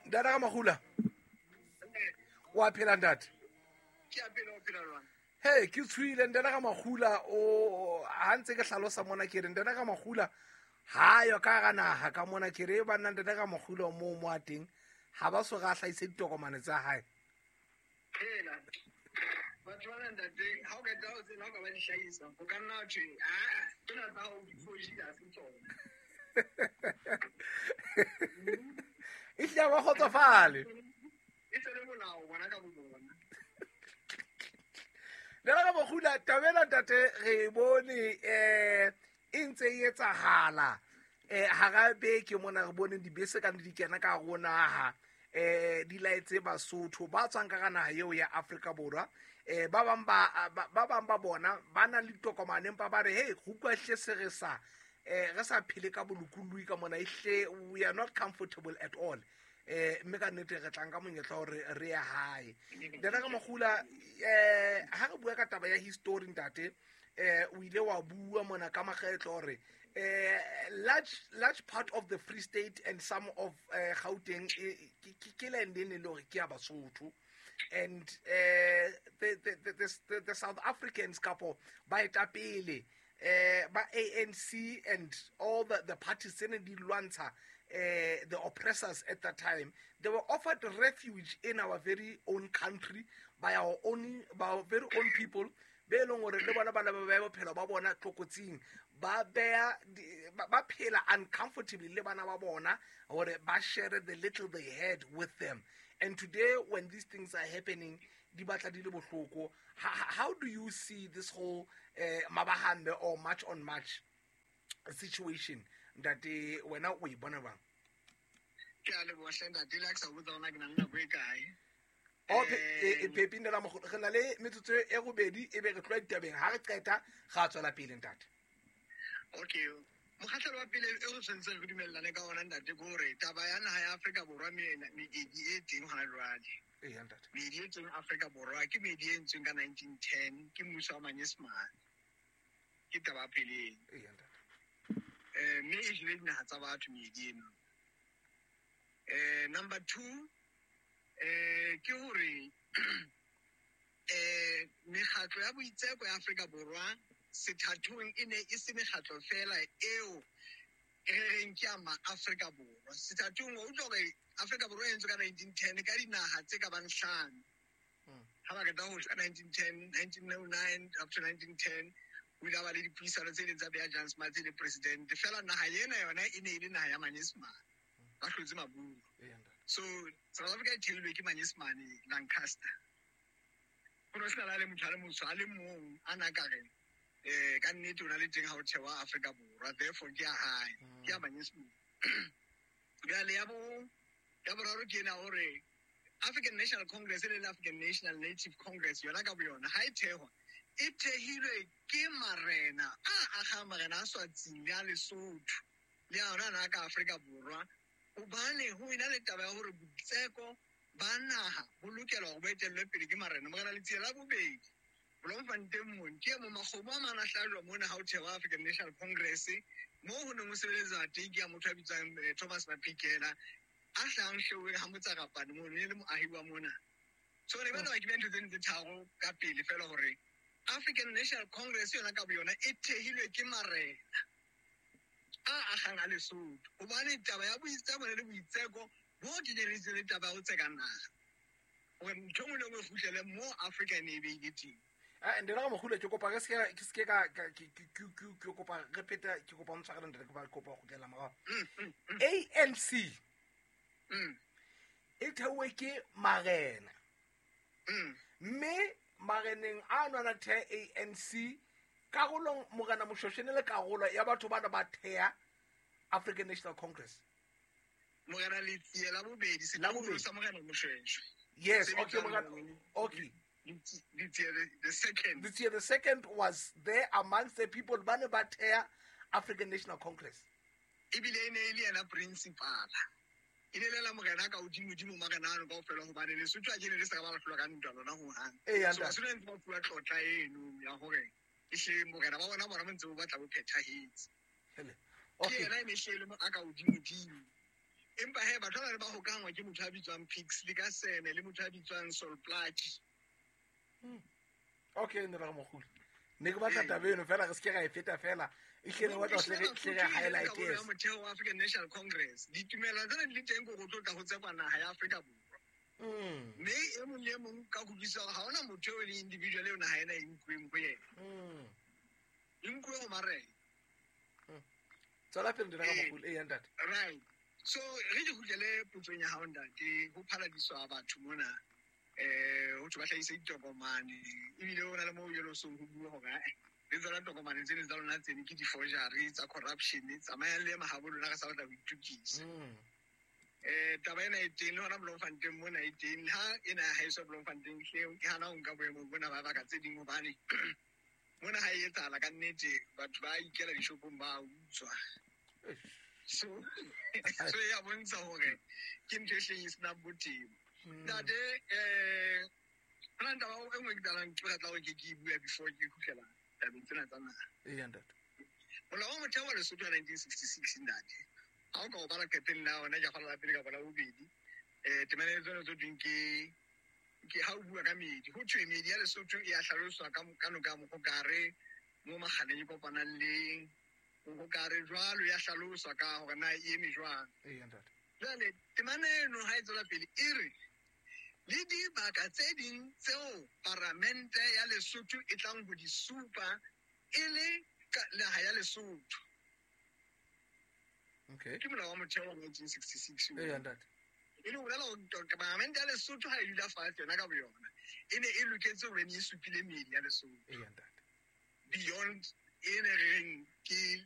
Ntate ga Magula, wa phela ntate? He, ke tshwile ntate ga Magula. O ha ntse ke hlalosa mona, ke re ntate ga Magula ha yo ka ga naga ka mona, ke re banna ntate ga Magula mo mo a teng ha ba so ga hlahise ditokomane tsa hae. Phela batho bana ntate, ha o qeta ho tsena, o ka ba di hlahisa, o ka nna thwe aa tsena tsa hao di fojile, ha se tsona. E hlile ba kgotsofale. E se le molao bona ka bo bona. Ntate ga Magula, tabela ntate re e bone e ntse e etsahala hara beke mona, re bone dibese ka di kena ka hare ho naha, di laetse Basotho ba tswang ka ga naha eo ya Afrika Borwa. Ba bang ba bang ba bona ba na le ditokomane, empa ba re hey, go utlwa hle se re sa re sa phele ka bolokolohi ka mona, ehle we are not comfortable at all. Mme ka nnete re tlang ka monyetla hore re ye hae. Ntate ka Magula, ha re bua ka taba ya history ntate, o ile wa bua mona ka makgetlo hore large part of the Free State and some of Gauteng ke land e ne le hore ke ya Basotho, and the South Africans kapo baetapele ba ANC and all the parties tse ne di lwantsha the oppressors at that time, they were offered refuge in our very own country by our very own people, be leng hore le bona ba ne ba beha bophelo ba bona tlokotsing, ba beha ba phela uncomfortably le bana ba bona hore ba share the little they had with them. And today when these things are happening, di batla di le bohloko. How do you see this whole mabahambe or march on march situation, ntate? Wena o e bona bang? Ke a leboha hle ntate, le ha ke sa botsa hona ke na le nako e kae. Oh, Pepi ntate Mogolo, re na le metsotso e robedi, e be re tloha ditabeng. Ha re qeta ra tswela pele ntate. Okay, mokgahlelo wa pele e re tshwanetseng re dumellane ka ona ntate ke hore taba ya naha ya Afrika Borwa, meedi e teng hona jwale, Eya ntate. Meedi e teng Afrika Borwa ke meedi e entsweng ka 1910 ke mmuso wa Manyesemane. Ke taba ya pele eno. Eya ntate. Mme e jele dinaha tsa batho meedi eno. Number two, ke hore mekgatlo ya boitseko ya Afrika Borwa sethathong e ne e se mekgatlo fela eo e re reng ke ya ma-Afrika Borwa. Sethathong wa utlwa hore Afrika Borwa e entswe ka 1910 ka dinaha tse ka bang hlano. Ha ba qeta ho ka 1910, 1909 up to 1910, ho ile ha ba le dipuisano tse ileng tsa beha Jan Smuts e le president. Feela naha ena yona e ne e le naha ya Manyesemane, ba hlotse Maburu. So South Africa e theilwe ke Manyesemane Lancaster. Ho no sena le motho a le motsho a le mong a na ka re ka nnete o na le teng ha o thewa Afrika Borwa, therefore ke ya hae, ke ya Manyesemane. Jwale ya boraro ke ena hore African National Congress le African National Native Congress yona ka boyona ha e thehwa, e thehilwe ke marena a agang, marena a Swatsing le a Lesotho le a ona ana ka Afrika Borwa, hobane ho ena le taba ya hore boitseko ba naha bo lokela hore bo etellwe pele ke marena. Morena Letsie la bobedi Bloemfontein mone ke e mong makgomo a mang a hlajwa mona ha o thehwa African National Congress, moo ho neng ho sebeletswa teng ke ya motho a bitswang Thomas Maphikela a hlahang Hleweng ha Motsarapane mono, e le moahi wa mona. So ne ba ke beha ntho tseno tse tharo ka pele fela hore African National Congress yona ka boyona e thehilwe ke marena a agang a Lesotho, hobane taba ya boitseko le boitseko bo kenyeleditse le taba ya ho tseka naha, hore ntho e nngwe le nngwe e kgutlele mo Afrika e ne e beile teng. Ntate ga Mogolo, ke kopa re se ke se ka ke kopa re pheta, ke kopa o ntshwarele ntate, ke kopa go kgutlela morao. ANC e theuwe ke marena, mme mareneng a nwana the ANC karolong Morena Moshoeshoe le karolo ya batho bana ba thea African National Congress. Morena Letsie la bobedi, La bobedi. setloholo sa Morena Moshoeshoe. Yes, Se okay, bitswang Morena, Morena okay. Letsie the second. Letsie the second was there amongst the people ba ne ba thea African National Congress. Ebile e ne e le yena principal. E ne le la morena ka hodimo-dimo marena ano kaofela, hobane Lesotho a ke ne le sa ka ba la hlolwa ka ntwa lona hohang. Eya, So ntate. Basotho ba ntse ba fuwa tlotla eno ya hore ehle morena ba bona bona bo ntse bo batla bo phethahetse. Hele. Ke Okay. yena e ne hle e le a ka hodimo-dimo. Empa he batho ba ne ba hokahanngwa ke motho a bitswang Pixley ka Sene le motho a bitswang Sol Plaatje. Okay, ne ra mogolo. Ne ke batla taba eno fela re se ke ra e feta fela. E hle ne batla hle re highlight yes. Motheo wa African National Congress. Ditumelo tsena di le teng ko go tlotla go tsekwa naha ya Afrika Borwa. Mme e mong le e mong ka kutlwisa hore ha hona motho eo e leng individual eo naha ena e nkuweng ho yena. E nkuwe ho marena. Tswela pele ntate Ramogolo. Ee, ntate. Right. So re ke kgutlele potsong ya hao ntate, ho phaladiswa batho mona ho thwe ba hlahise ditokomane, ebile ho na le moo jwale o seng ho bua hore ae le tsona tokomane tseno tsa lona tsene ke di-forgery tsa corruption, tsamayang le ye mahabo lona re sa batla ho itokisa. Taba ena e teng le hona Bloemfontein mona e teng, le ha ena ya haeso Bloemfontein hle ke hana ho nka boemong bona ba baka tse ding, hobane mona ha e etsahala ka nnete batho ba ikela dishopong ba utswa. So so ya bontsha hore ke ntho e hleng e senang botebo. Ntate hona le taba e nngwe ke tlalang ke batla hore ke ke e bua before ke kgutlela tabeng tsena tsa naha. Ee, ntate. Molao wa motheo wa Lesotho wa 1966 ntate, ha o ka o bala qeteng la ona ke kgola la pele kapa la bobedi, temana e tsona tse thweng ke ha o bua ka meedi, ho thwe meedi ya Lesotho e a hlaloswa ka noka ya Mohokare mo Makgaleng e kopanang le Mohokare jwalo, ya hlaloswa ka hore na e eme jwang. Ee, ntate. Jwale temana eno ha e tswela pele e re le dibaka tse ding tseo paramente ya Lesotho e tlang ho di supa e le naha ya Lesotho. Okay. Ke molao wa motheo wa 1966. Ee, ntate. E le ho bolela hore paramente ya Lesotho ha e dula fatshe yona ka boyona, e ne e loketse hore e supile meedi ya Lesotho. Ee, ntate. Beyond e ne re reng ke